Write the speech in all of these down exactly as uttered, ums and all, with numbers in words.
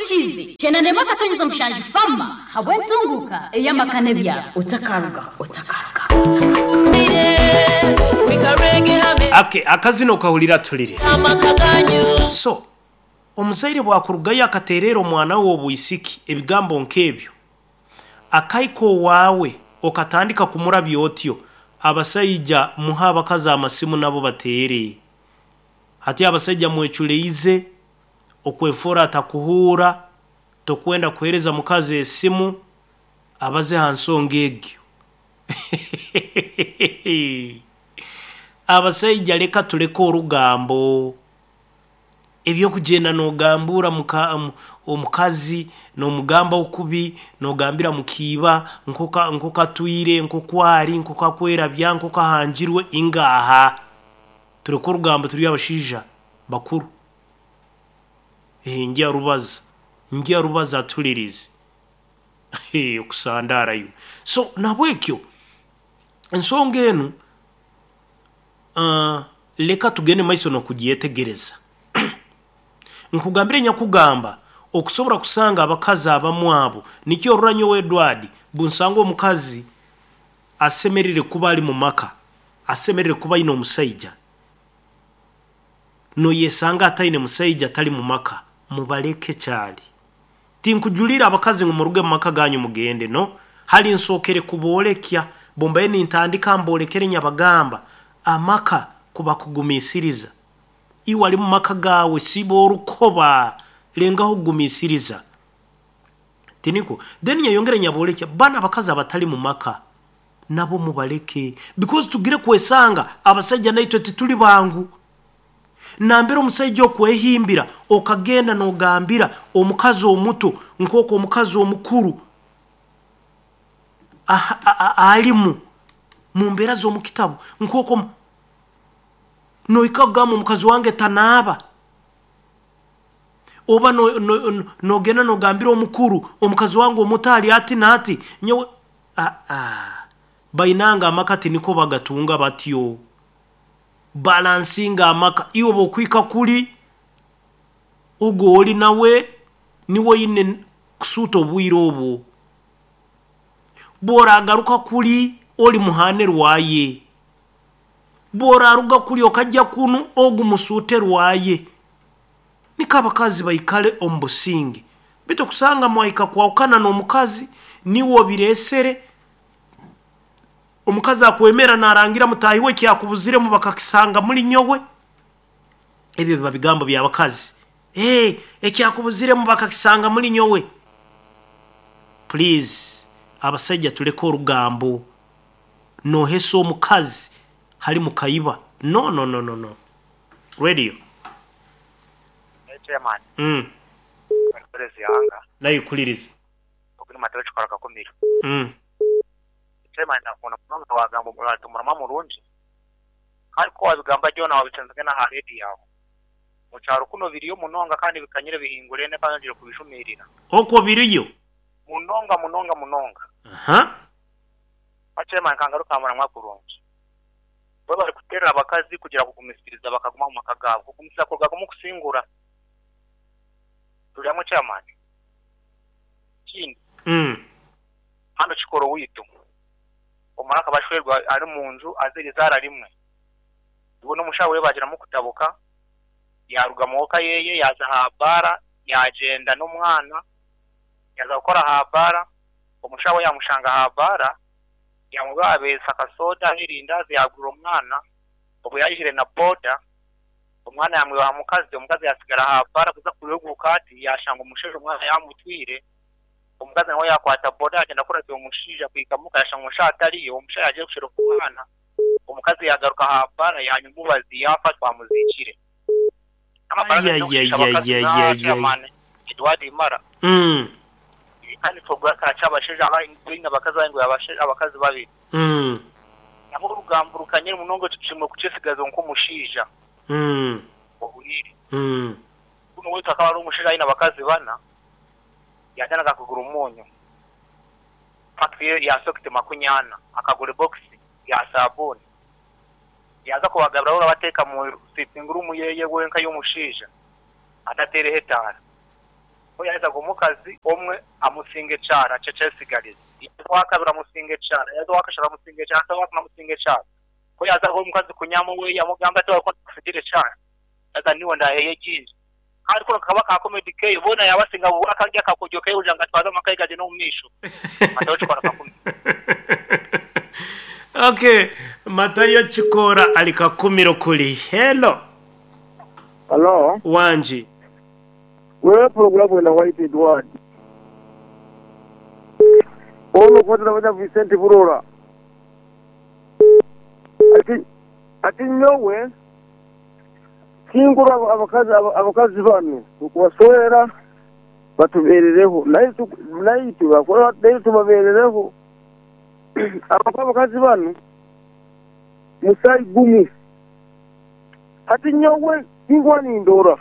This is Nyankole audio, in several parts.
Ohurikize cyenda ndema akatonyeza mushanju fama habwe ntunguka ey'amaka n'ebyaro otakaruga otakaruga Ake akazino kahulira tulire. So omuzaire bwakurugayo akaterera omwana we obwisiki ebigambo nk'ebyo, akaiko waawe okatandika kumurabya otyo. Abasaija muha abakazi amasimu nabo bateere. Hati abasaija mweculeize okwefora atakuhuura, tokwenda kuhereza mukazi esimu abaze ha nsonga egyo. Abasaija leka tuleke orugambo. Ebyokugenda nogambura muka, omukazi nomugamba okubi, nogambira mukiiba nkoka nkokatwire, nkokwari, nkokakwerabya, nkokahangirwe ingaha. Tureke orugambo, turi abashaija bakuru. Eh, njya rubaza njya rubaza atulirize okusandarayo. So nabwekyo ensonga enu uh, leka tugende maiso nokugyetegereza. Nkugambire nyakugamba okusobora kusanga abakazi abamu abo nikyo oruranyo we Edward bunsanga omukazi asemerire kuba ali mu maka, asemerire kuba aine omusaija, noyesanga ataine musaija atali mu maka, mubaleke kyali. Tinkujulira abakazi ngu muruge mu maka ganyu mugende, no hali nsokere kubolekya bombaye nintandika mbolekere nyabagamba amaka kuba kugumisiriza. Iwe ali mu maka gawe siba orukoba lengaho kugumisiriza tiniko. Then nyayongera nyabolekya bana abakazi abatali mu maka nabo mubaleke, because tugire kwesanga abasajja naitwe tituli bangu. Nambera omusajja okwehimbira okagenda nogambira omukazi omuto nk'oku omukazi omukuru alimu mu mbeera z'omukitabu, nk'oku noika kugamba omukazi wange tanaaba, oba nogenda nogambira omukuru omukazi wange omuto ali ati n'ati nyowe. Bainanga amaka tiniko bagatunga batyo, balansinga amaka. Iwe bwokwika kuli ogwo oli nawe niwe oine kusuuta obwire obwo, bworagaruka kuli oli muhane rwaye, bworaruga kuli okajja kunu ogu musuute rwaye. Niko abakazi baikale omu businge. Bitu kusanga mwaika kwawukana n'omukazi niwe obiresere, omukazi akwemera narangira mutahi we kyakubuziremu bakakisanga muri nyowe. Ebyo biba bigambo by'abakazi. Hey, ekyakubuziremu bakakisanga muri nyowe. Please abasajja tuleke orugambo. Nohesa omukazi hali mukaiba. No no no no no. Radio. Chairman. Mm. Yanga. Nayo kuliriza. Okuni matero chikora kakumira. Mm. Chairman nakona munonga wagamba omuratu murama murungi. Kandi ko wabigamba jona wabitenzage na ha radio yawe. Mu cyaro kuno biriyo munonga kandi bikanyire bihingure ne kandi ngire kubishumirira. Okwo biriyo. Munonga munonga munonga. Aha. Chairman kangaruka mura mwakurungi. Bo bari kuterera abakazi kugira kugumisiriza bakaguma mu maka gabo. Kugumisiriza kurwa kusingura. Tulyamu chairman. Kindi. Mm. Hano kikoro witu. Omuraka bashwerwa ari mu nzu azirizara rimwe. Ubwo n'umushawe bagira mu kutabuka yaruga muka yeye yaza habara yagenda n'umwana yaza gukora habara umushawe yamushanga habara yamugabesa akasoda hirindazi yagura umwana ubu yayishire na boda umwana yamwibaha mukazi omukazi yasigara habara kuza kuruguka ati yashanga umusheje umwana yamutwire omukazi nawe yakwata boda agenda kurata omushija kwikamuka yashanga umusha atariyo omusha yagiye kushira ku mwana omukazi yagaruka habara yanyumubazi yafa twamuzikire Edward Mara mm kandi twoga cyabasheje abahinga abakazi bangu abasheje abakazi babiri mm nabo rugamburukanye munongo tushimwe kucesigazo nko mushija mm obuhiri mm kuno wetu akaba ari umusheje aina abakazi bana yajanaga kugura umunyu factory ya sokite makunyana akagura box ya sabuni yaza kubagabura urabateka mu sitting room yeye wenka y'umushija atatere hetara Ko yazaga omukazi omwe amusinga ekyara kyekyesigaliza. Wakabiri amusinga ekyara, yaza wakashara amusinga ekyara, yaza wakana amusinga ekyara. Ko yazaga omukazi kunyama we yamugamba ati wakusigira ekyara. Yaza niwe ndaheye gingi. Kandi kuno kaba ka comedy keyo bona yabasinga akajya kakojyo keyo ujanga twaza amakaye gaje no mumisho. Matayo Chikora kakumi. Okay, Matayo Chikora ali kakumiro kuli. Hello. Hello. Wanji. Wewe programu ina White Edward. Ono kwatira vanya Vincent Burora. Ati ati nyowe kingura abakazi abakazi banu kubaswera batuberereho naye naye tubakora naye tubaberereho abakazi banu musai gumu. Ati nyowe kingwa ni ndora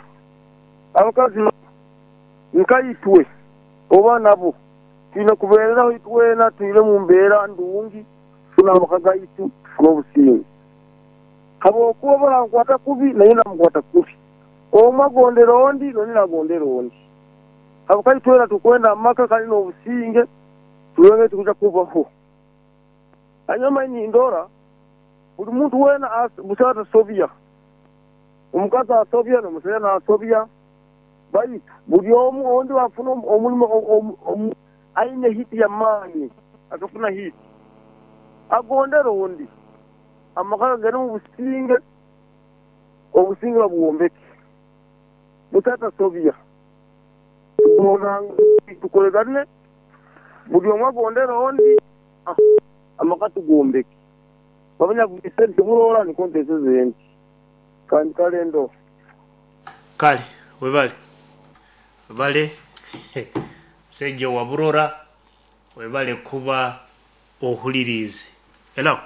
abakazi nkaitwe oba nabo twine kubeereraho itwena twire mu mbeera ndungi tunamakaga itu n'obusinge habwokuba barankwata kubi naye namukwata kubi omwe agondera ondi nondi nagondera ondi habwokuba itwena tukwenda amaka kandi n'obusinge turebe tukuja kubaho. Hanyuma nindora buli muntu wena busaata asobya omukazi asobya n'omusajja nasobya baitu buli omu ondi wafuna omulimu aine hiti ya maanyi akafuna hiti agondera ondi amaka gari mu businge obusinge babuwombeke butata sobya tukolegane buli omu agondera ondi amaka tugombeke babanya Vicente Burora ni kontese zenti kandi kalendo kale webale webale musajja wa Burora webale kuba ohulirize. Hello.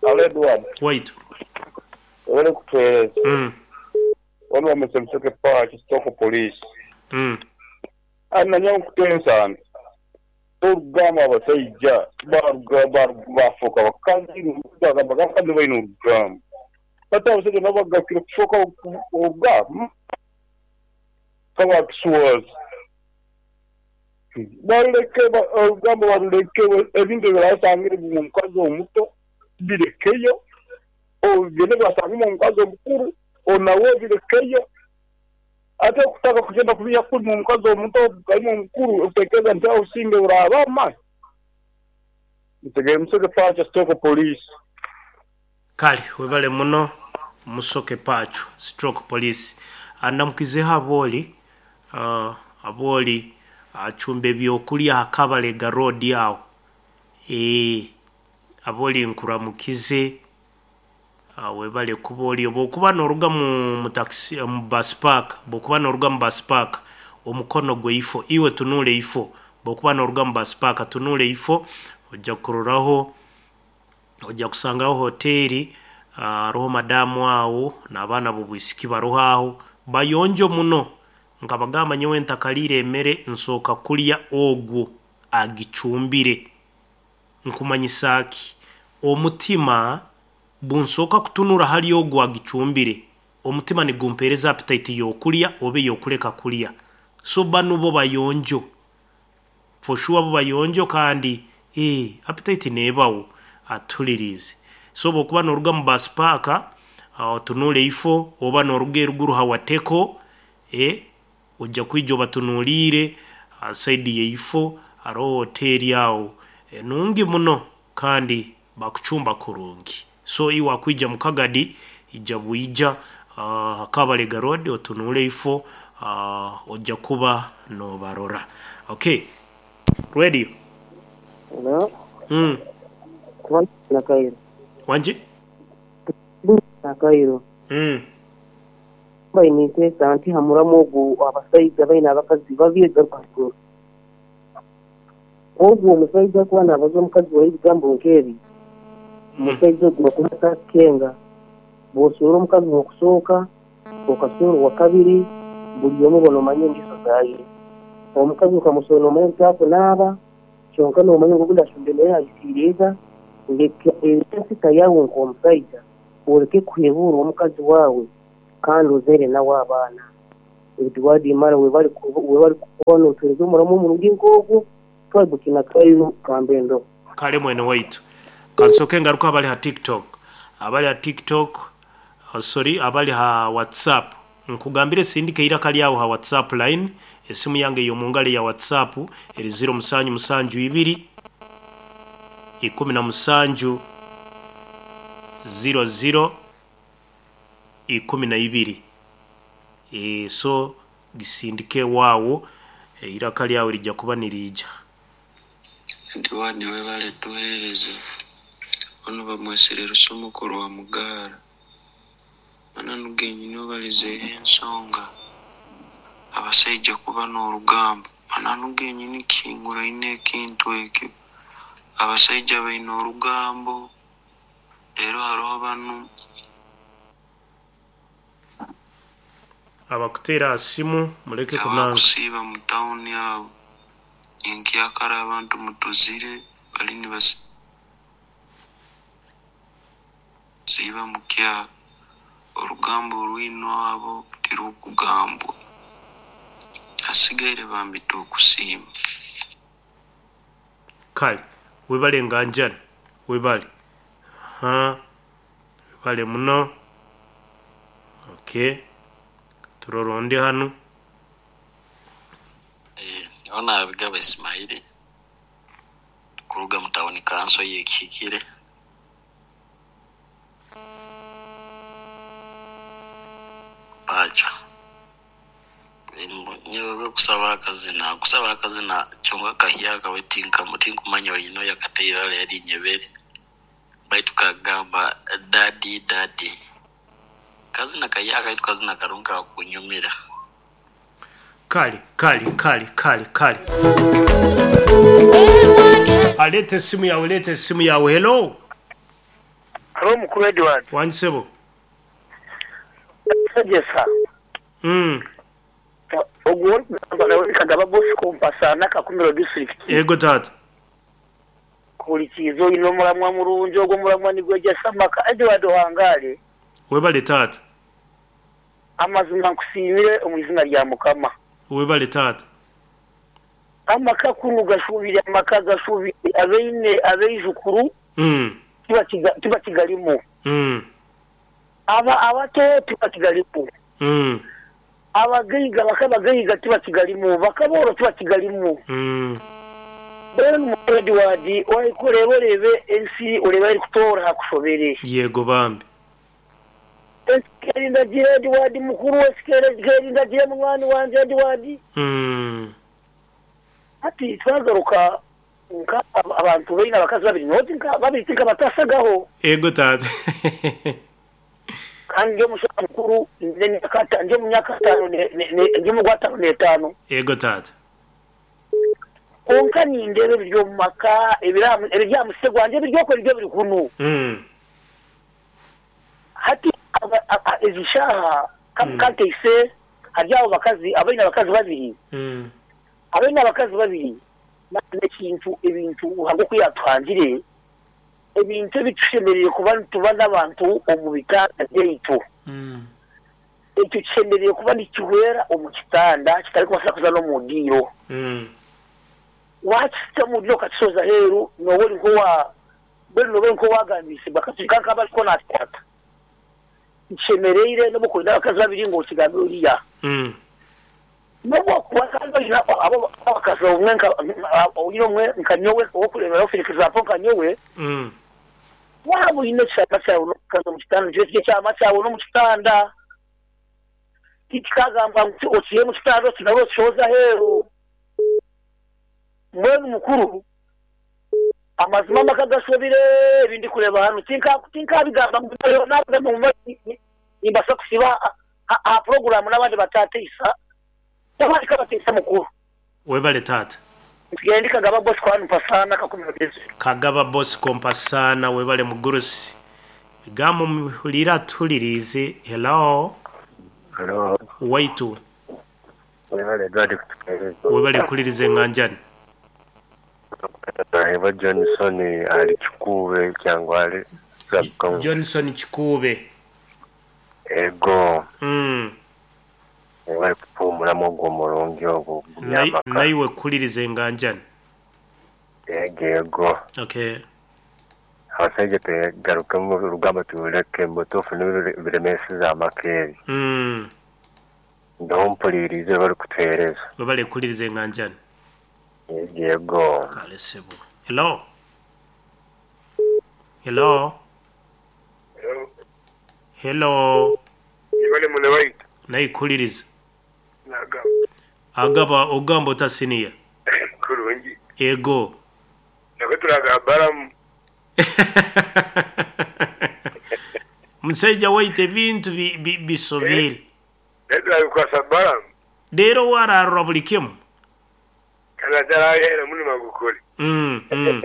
Hello Edward. Wait. Wale kutueleza. Mm. Wale wamesemseke pa Kitoko police. Mm. Ana nyawo kutensa. Orugamba abasajja baruga bafuka bakazi n'urugamba bakandi baine urugamba. Bata abasajja nabo bagakira kufuka urugamba. Kaba kiswazi. Baruleke urugamba baruleke ebintu birasangire mu mukazi omuto birekeyo ogende basanga mu mukazi omukuru onawe birekeyo ate okutaka kugenda kubiya kuri mu mukazi omuto kali mukuru utekeza nti usinge urabama ntegere musoke pacho stroke police. Kale webale muno musoke pacho stroke police andamukizeho aboli uh, aboli achumbe byokulya akabalega road awo eh aboli nkuramukize webale kuba oli bwokuba n'oruga mu taxi mu bus park bwokuba n'oruga mu bus park omukono gwe ifo iwe tunule ifo bwokuba n'oruga mu bus park tunule ifo ojja kuroraho ojja kusangaho hoteli aroho madamu awo n'abaana b'obwisiki baroho aho bayonjo muno nkabagamba nyowe ntakalire emere nsooka kulya ogwo agicumbire nkumanyisa ki omutima bunsooka kutunura hali ogwo agicumbire omutima nigumpereza appetite yokulya obe yokuleka kulya. So bano bo bayonjo for sure bo bayonjo kandi eh appetite nebawo atulirize. So bokuba n'oruga mu bus park otunule ifo oba n'oruga eruguru hawateko eh ojja kwijja obatunuulire saidi yeifo aroho hoteli awo e, nungi muno kandi bakuchumba kurungi. So iwa kwija mukagadi ija buija uh, Kabalega road otunule ifo uh, ojja kuba no barora. Okay, radio. Hello. Mm. Na Kairo. Wanje? Na Kairo. Mm. Bainite anti hamuramu ogu abasaiza baina abakazi babyega pastor. Ogu omusaiza kuba nabaza omukazi wa ebigambo nkebi. Omusaiza ogu bakumata kenga. Bw'osuura omukazi okusooka, okasuura owa kabiri, buli omu bona omanye engeso zaaye. Omukazi okamusoona omanye nti akunaaba, kyonka n'omanya ngu ogundi ashumbe naye ayisiiriza, leka ensita yawe nk'omusaija, oleke kuhebuura omukazi waawe kandi ozaire nawe abaana. Edward Imana webali webali kuba notuhereza omuramu omurungi nk'ogwo twagukina kairo kambendo. Kale mwene waitu kansoke ngaruka abali ha TikTok, abali ha TikTok, uh, sorry, abali ha WhatsApp, nkugambire sindike iraka lyawo ha WhatsApp line. Esimu yange yomungale ya WhatsApp eri zero musanju musanju ibiri ikumi na musanju zero zero ikumi na ibiri. E, so gisindike wawo e, iraka lyawe lijja kuba nirija. Diwani webale tuhereza ono bamwesere rusomukuru wa mugara mananu genyini obalizeeho ensonga abasaija kuba n'orugambo mananu genyini kihinguraine ekintu ekyo abasaija baine orugambo leero hariho banu abakuteera simu muleke kunanga abakusiiba mu tawuni abo enkyakara abantu mutuzire bali nibasiiba mu kyaro orugambo orwino abo tirukugambwa asigaire bambita okusiima. Kale webale nganjani webale ha webale muno. Okay, turoronde hano. Eh, ona Abigaba Ismaili kuruga mu tawuni kanso yekihikire. Pacho nyewe kusaba akazina kusaba akazina kyonka kahyaka wetinka mutinkumanya oyino yakateira yali nyebere baitu kagamba dadi dadi kazina kahyaka itu kazina karunka kunyumira. Kale kale kale kale kale alete simu yawe, lete simu yawe. Hello. Hello mukuru Edward. Wansebo. Sajesa. Mm. Ogwo kagaba Bosco Mpasana Kakumiro district. Yego tata. Kulikizo ino mulamwa murungi ogwo mulamwa nigwejesa maka Edward Wangale. Webale tata. Amazima nkusiimire omu izina lya Mukama. Webale tata. Amaka kunu gashubire amaka gashubire abeine abeijukuru. Mm. Tiba kigalimu. Mm. Aba abato tiba kigalimu. Mm. Abagaiga bakabagaiga tiba kigalimu bakaboro tiba kigalimu. Mm. Ben muradi wadi oyikurebe ensi ureba iri kutora hakushobere. Yego bambi. Erinda gira wadi mukuru wesikere erinda gira mwana wanje wadi. Mm. Ati twagaruka nka abantu beina abakazi babiri noti nka babiri tinka batasagaho. Ego tata. Kandi nje mushaka mukuru nje nyakata nje munyaka tano ne nje mugwatano netano. Ego tata. Konka nindebe biryo maka ebiramu ebirya musegwa nje biryo ko biryo biri kunu. Mm. Hati ezishaha kamkante hari abo bakazi abaina abakazi babiri. Mm. Abaina abakazi babiri n'ekintu ebintu uhango kuyatwangire ebintu bitushemereye kuba tuba n'abantu omu bitanda byaitu. Mm. Ekyo kishemereye kuba nikihwera omu kitanda kitari kubasa kuza no mu diro. Mm. Wakisita mu diro kakisoza heru nowe nkowa bwe nowe nkowa gambise bakatuka kabariko natata. Kishemereire no mukwenda abakazi babiri ngo kigambe uriya. Mm. Nobwo kuwakaza abo abakazi umwe nka umwe nka nyowe okureba ofirikiza po nka nyowe. Mm. Wabo ine cyama cyawe no kaza mu kitanda cyo cyama cyawe no mu kitanda. Kikagamba ngo okiye mu kitanda kinabo cyoza hero. Mwe mukuru amazima makagashobire ibindi kureba hano tinka tinka bigamba ngo nabwo mu nimbasa kusiba a program n'abandi batatisa. Abandi kabatisa mukuru. Webale tata. Ngende Kagaba Bosco hano Mpasana Kakumiro district. Kagaba Bosco Mpasana webale mugurusi. Bigambo muhulira tulirize. Hello. Hello. Waitu. Webale Edward. Webale kulirize nganjani. Eva Johnson ali Chikube cyangwa ali Johnson Chikube. Ego. Mm. Webale Omulamu ogwo omurungi ogwo Nai- gumyamaka. Naiwe kuliriza enganjani. Yego yego. Okay. Abasajja tegarukemu orugamba turuleke mubutuufu nibyo biremeseza amaka ebi. Mm. Ndoho mpulirize bari kutuheereza. Webale kuliriza enganjani. Yego yego. Kale sebo. Hello. Hello. Hello. Ibale mune waitu Naikuliriza. nagamba Agaba ogamba otasiniya. kurungi Ego. nako turaga baramu Musajja waite ebintu bi- bi- bisobere. naye turabikwasa baramu Leero wararura buli kimu. kana tarahera munima gukore Mm, mm.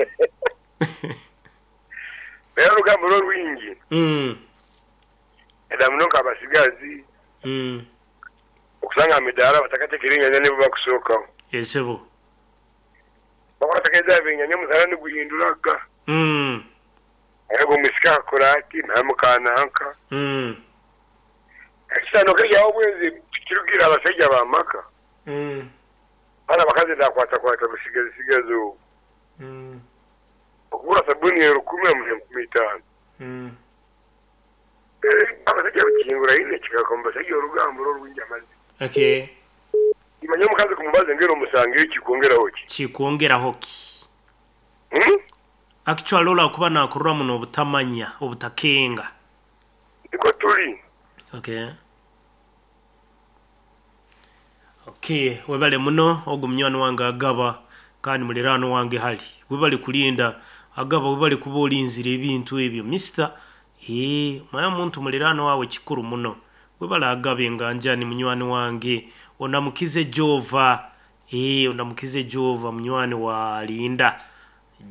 naye orugamba rw'orwingi Mm. eda muno nk'abasigazi Mm. okusanga amidaara batakatekera enyanya nibo bakusookaho Esebo. bakwatakeeza ebinyanya omusana niguhinduraga Mm. ariko omusika akakora ati namukananka Mm. ekisano keryaho obwenzi kirugira abasajja bamaka Mm. bana abakazi ndakwatakwata busigazi sigazi obu Mm. okugura sabuni rukumi amuha enkumi itaano Mm. abasajja bakingura ine kikakomba basajja orugambo rw'orwingi amazi Okay. imanye omukazi kumubaza ngera omusangire kikwongeraho ki Kikwongeraho ki? Hmm? Actually olwakuba nakurura muno obutamanya obutakenga. niko tuli Okay. Okay, webale muno ogu munywani wange agaba kandi muliraano wange hali. Webale kulinda agaba webale kuba olinzira ebintu ebyo. Mister, ee, maya muntu muliraano wawe kikuru muno. Webale agaba enganjani munywani wange. Onamukize Jova. Ee, onamukize Jova munywani wa Linda.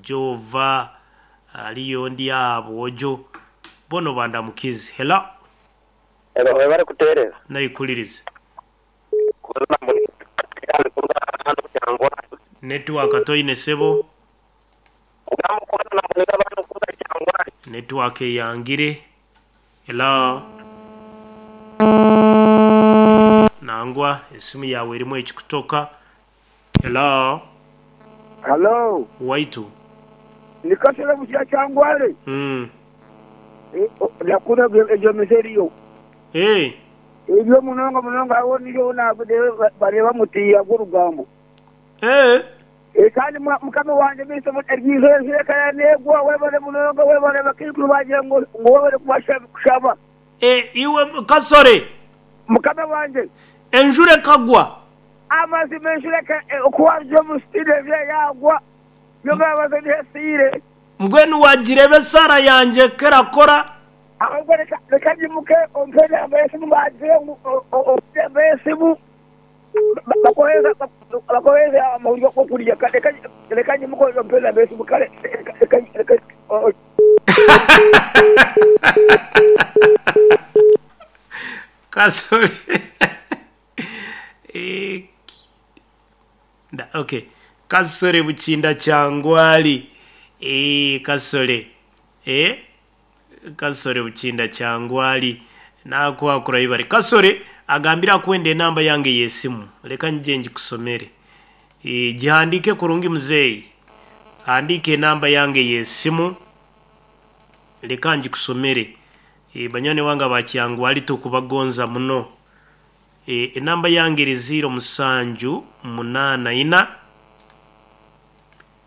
Jova aliyo ndi abo ojo. Bono bandamukize. Hello. Ero webale kuteereza. Naikuliriza. Network toine sebo. Network eyangire. Hello. Nangwa esimu yawe erimu ekikutoka. Hello. Hello. Waitu. Nikasere busya kyangwale. Mm. Nakuna egyo miseriyo. Hey. Ebyo munonga munonga awo niyo nabude bareba mutiya gw'orugambo. Eh. E kandi mukama wange miso eryizo erikaya negwa webale munonga webale bakikuru bagira ngo ngo webale kubashaba. Eh, iwe kasore. Mukama wange. Enjure kagwa. Amazi menshure ka okuwanje mustide vya yagwa. Yoga bazanye sire. Mbwenu wagirebe sara yanje kerakora. Ahubwo reka reka nyimuke ompere amesimu bagire ngo amesimu bakoheza bakoheza amahuriro ko kurya reka reka nyimuke ompere amesimu kare reka reka Kasore. Eh, da, okay. Kasore buchinda kyangwali. Eh, kasore. Eh? Kasore buchinda kyangwali. Nakwakura ibare. Kasore agambira kwenda enamba yange yesimu. Leka nje njikusomere. Eh, jihandike kurungi mzee. Andike enamba yange yesimu. Leka njikusomere. E, banyane wanga bakyangwali tukubagonza muno. E, enamba yange eri ziro musanju munana ina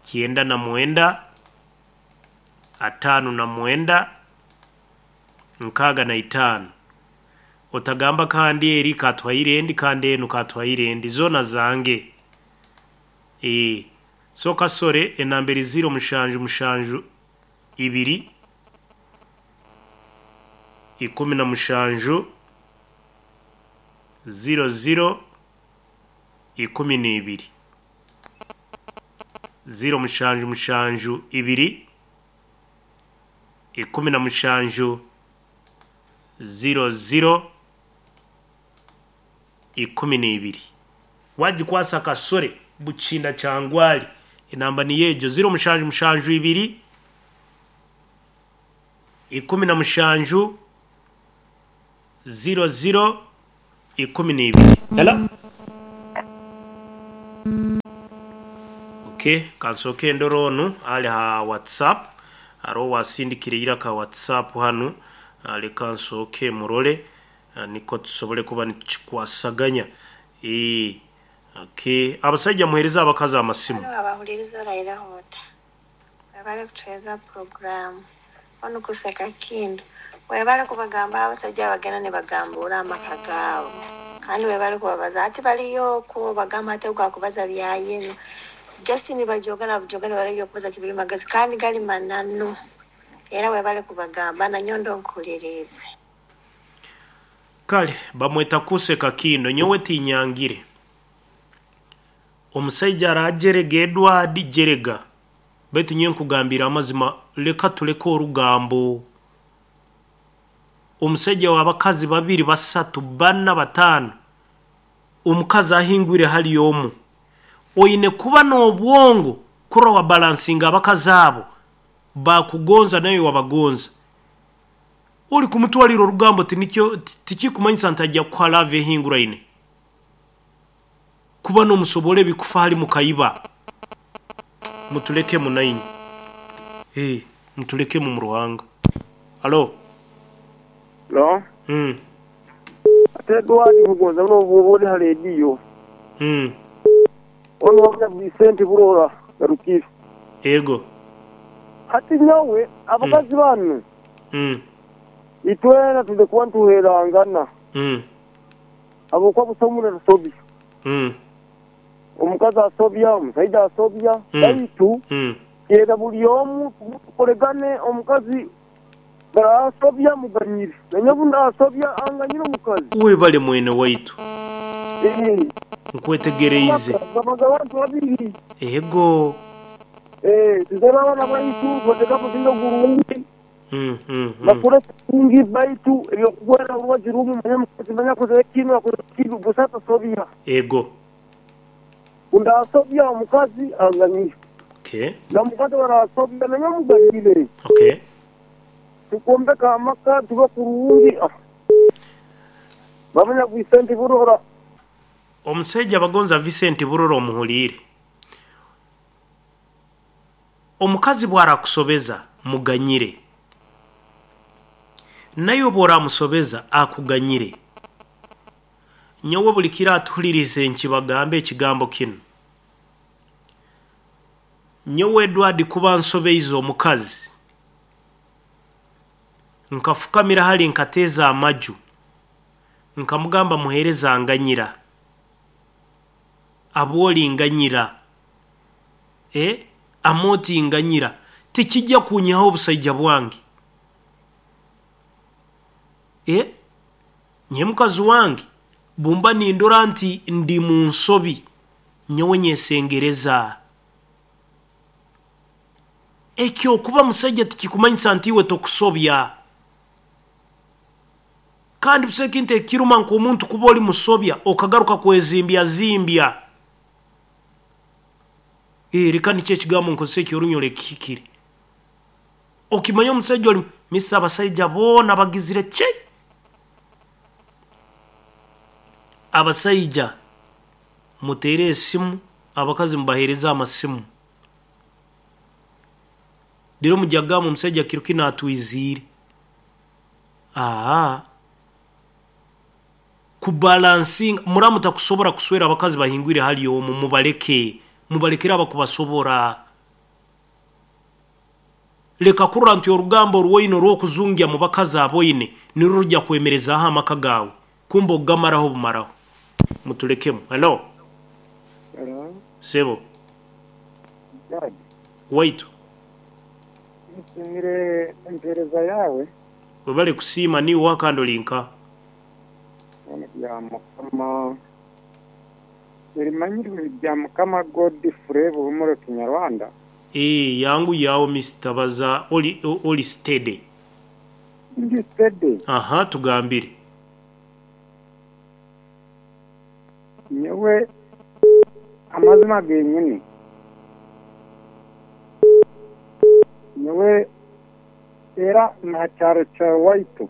kyenda na mwenda atano na mwenda nkaga na itano. Otagamba kandi eri katwaire endi kandi enu katwaire endi zona zange. E, so kasore enamba eri ziro mushanju mushanju ibiri ikumi na mushanju ziro ziro ikumi n'ibiri ziro mushanju mushanju ibiri ikumi na mushanju ziro ziro ikumi n'ibiri. Wagikwasa kasore buchinda kyangwali. Enamba ni yejo ziro mushanju mushanju ibiri ikumi na mushanju ziro ziro ikumi n'ibiri. Hello. Okay, kansooke endora onu ali ha WhatsApp. Hariho wasindikire iraka WhatsApp hanu. Ah, leka nsooke murole, ah, niko tusobole kuba nitukikwasaganya. Eh, okay, abasajja muhereza abakazi amasimu. Hano abahuliriza Raila Hota webale kutuheereza puroguramu onu kuseka kindu webale kubagamba abasajja abagenda ne bagambura amaka gaabo kandi webale kubabaza ati baliyo okwo bagamba ate gwakubaza byayenu Justin bajogana bujogana baliyo okubaza kibiri magezi kandi gali mananu era webale kubagamba nanyondo nkulirize. Kale bamweta kuseka kindo nyowe tinyangire. Omusajja arajerega Edward jerega baitu nyowe nkugambira amazima, leka tuleke orugambo. Omusajja w'abakazi babiri basatu bana bataano, omukazi ahingwire hali omu, oine kuba n'obwongo kurora wa balansinga abakazi abo bakugonza nawe wabagonza. Ori kumutwalira orugambo tinikyo tikikumanyisa nti ajja kukuha love ehinguraine kuba n'omusobole ebikufa hali mukayiba. Mutuleke munaini, eh mutuleke mu Ruhanga. Alo No mm ate Edward kugonza no bwoli ha radio mm ono wabya Vicente Burora garukire ego hati nyawe abakazi mm. banu mm itwena tulikuwa ntuherangana mm abo kwa busomuna rusobi mm omukazi asobya omusajja asobya baitu mm yera buli omu tukoregane omukazi barasobya muganyire nanyabunda asobya anganyire omukazi webale mwene waitu eh nkwetegereize babaga abantu babiri ego eh tuzaba abana baitu bateka kusinga gurungi mm mm bakore kungi baitu ebyokugwera urwaji rumu manya mukazi manya kuze kino akoze kibi busata sobya ego undasobya omukazi anganyire okay na mukazi barasobya nanya muganyire okay tukombeka amaka tuba kurungi bamanya Vicente Burora. Omusajja bagonza Vicente Burora omuhuliire. Omukazi bw'arakusobeza muganyire, naye bw'oramusobeza akuganyire. Nyowe buli kiro atuhulirize nkibagambe ekigambo kino. Nyowe Edward kuba nsobeize omukazi nkafukamira hali nkateeza amaju nkamugamba muhereza nganyira abwoli nganyira eh amoti nganyira tikijja kunyaho obusajja bwange eh nye mukazi wange bumba nindora nti ndi mu nsobi nyowe nyesengereza. Ekyo kuba musajja tikikumanyisa nti iwe tokusobya. Kandi busekintu ekiruma nk'omuntu kuba oli musobya okagaruka kwezimbya zimbya. Eh reka nikyo ekigambo nkozesa ekyorunyoro ekihikire. Okimanya omusajja oli misa abasajja boona bagizire ki? Abasajja muteere esimu, abakazi mubaheereze amasimu. Rero mujagamba omusajja kiro kino atwiziire. Aha. Kubalansinga muramu takusobora kuswera abakazi bahingwire hali omu mubaleke mubalekera abakubasobora. Leka kurora nti orugambo orwoine orw'okuzungya mu bakazi aboine nirwo rujja kwemerezaho amaka gaawe kumba ogamaraho bumaraho. Mutulekemu. Hello. Hello. Sebo. Dad. Waitu. Nsimire empereza yawe. Webale kusiima niwe wakandolinka. Bya Mukama erimanyirwe bya Mukama Godfrey Buhumuro Kinyarwanda. Eh yangu yawo Mister Baza oli oli steady. Ndi steady. Aha tugambire. Nyewe amazima genyini. Nyewe era na cyaro cya waitu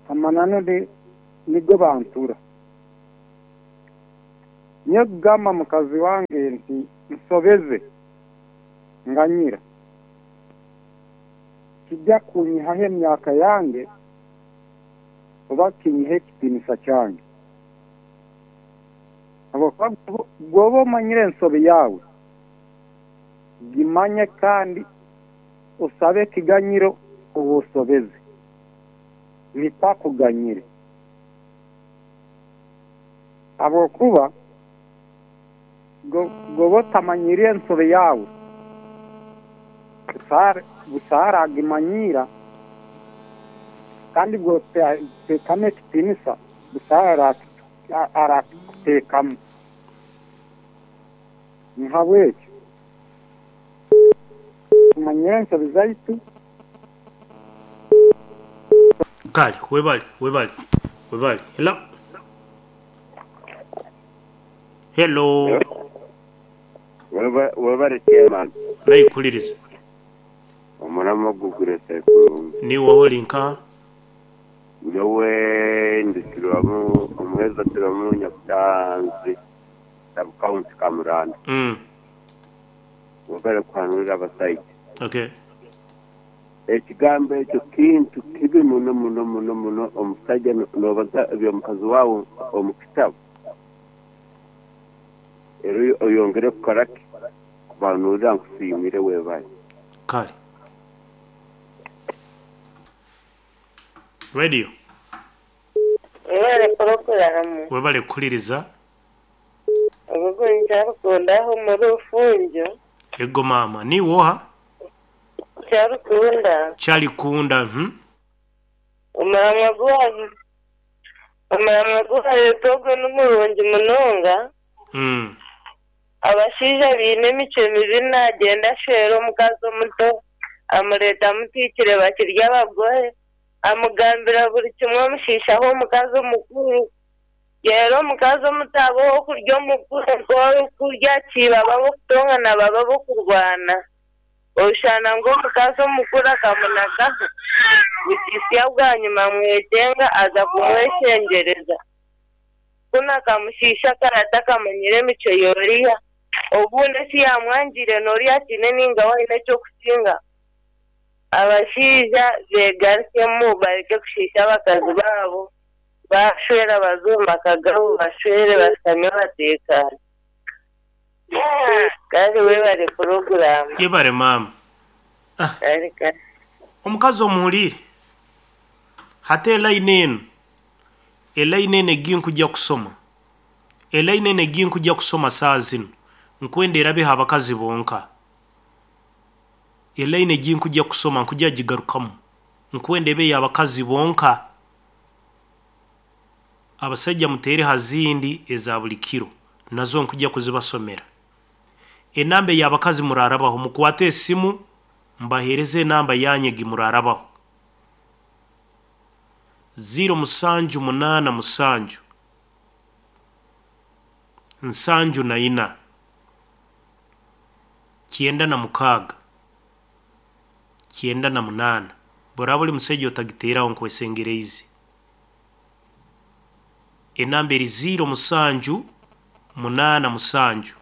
amanano de nigo bantura. Nyowe kugamba mukazi wange nti nsobeze nganyira kijja kunyihaho emyaka yange oba kinyihe ekitiinisa kyange. Habwokuba bw'oba omanyire ensobi yawe gimanye kandi osabe ekiganyiro oba osobeze nikwo akuganyire. Habwokuba bw'oba otamanyire ensobi yawe busaara agimanyira kandi bw'oteekamu ekitiinisa busaara arakuteekamu. Nhabwekyo tumanyire ensobi zaitu. Kale webale webale webale. Hello hello. Webale chairman. Naikuliriza. Omurama gugure sekuru. Niwe holi nka nyowe ndikirwamu omuheza turamu nyakutanzi sub-county Kamuranda. Mm. Webale kuhanurira abasaija. Okay. Ekigambo ekyo kintu kibi muno muno muno muno. Omusajja nobaza ebyomukazi wawe omu kitabu era oyongere kukora ki kubanurira nkusiimire webale. Kale. Radio. Webale poroguramu. Webale kukuliriza. Ogugu nkyarukundaho muri Rufunjo. Ego mama, ni woha? Kyarukunda. Kyarikunda, mhm. Omurama gwawe. Omurama gwawe togo n'umurungi munonga. Mm. Abashaija biine emicwe mibi nagenda ashwera omukazi omuto amureeta amutiikire bakirya abagore amugambira buri kimwe amushiishaho omukazi omukuru. Rero omukazi omuto aba ow'okurya omukuru ow'okurya kiiba aba ab'okutongana baba ab'okurwana. Oshana ngu omukazi omukuru akamunagaho bukisya bwanyuma amwetenga aza kumweshengyereza. Kunu akamushiisha akarata akamanyira emicwe y'oriya. Obundi eki yamwangire n'oriya akiine ninga we aine ekyokusinga. Abashaija beegarukemu bareke kushiisha abakazi baabo. Bashwera baze omu maka gaabo bashwere bashutame bateekaane. Kale webale poroguramu. Yebale mama. Kale kale. Omukazi omuhuriire. Hati elayini enu elayini enu egi nkujja kusoma elayini enu egi nkujja kusoma saaha zinu nkwenda erabeho abakazi bonka. Elayini egi nkujja kusoma nkujja gigarukamu nkwenda ebe y'abakazi bonka. Abasajja muteere ha zindi eza buli kiro nazo nkujja kuzibasomera. Enamba y'abakazi murarabaho mukwate esimu mbahereze enamba yanyu egi murarabaho. Ziro musanju munaana musanju nsanju na ina kyenda na mukaaga kyenda na munaana. Boraba ori musajja otagiteeraho nkwesengereize. Enamba eri ziro musanju munaana musanju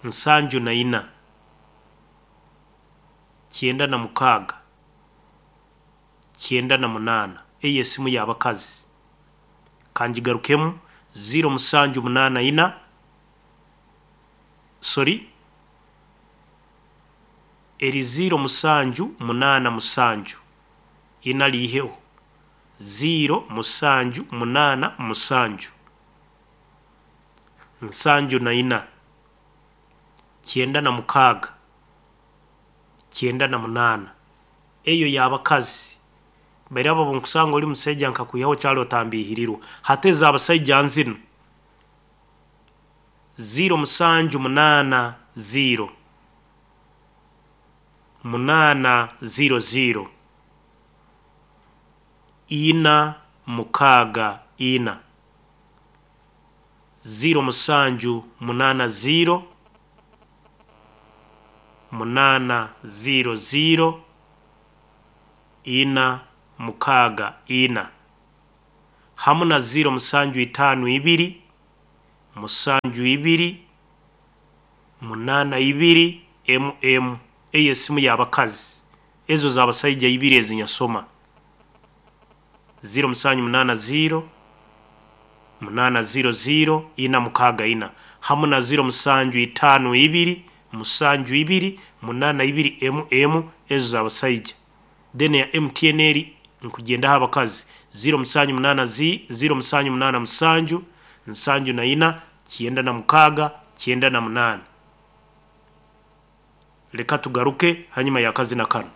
nsanju na ina kyenda na mukaaga kyenda na munaana. Eyo esimu y'abakazi. Kangigarukemu ziro musanju munaana ina sorry eri ziro musanju munaana musanju ina liiheho ziro musanju munaana musanju nsanju na ina kyenda na mukaaga kyenda na munaana. Eyo y'abakazi. Bairi abo nkusanga ori musajja nkakwihaho kyali otambihirirwa. Hati ez'abasajja nzino ziro musanju munaana ziro munaana ziro ziro ina mukaaga ina ziro musanju munaana ziro munaana ziro ziro ina mukaaga ina. Hamu na ziro musanju itaano ibiri musanju ibiri munaana ibiri mm eyo esimu y'abakazi. Ezo z'abasaija ibiri ezinyasoma ziro musanju munaana ziro munaana ziro ziro ina mukaaga ina, hamu na ziro musanju itaano ibiri musanju ibiri munaana ibiri mm ezo z'abasaija. Then ya M T N eri nkugendaho abakazi, ziro musanju munaana zi ziro musanju munaana musanju nsanju na ina kyenda na mukaaga kyenda na munaana. Leka tugaruke hanyuma y'akazina kano.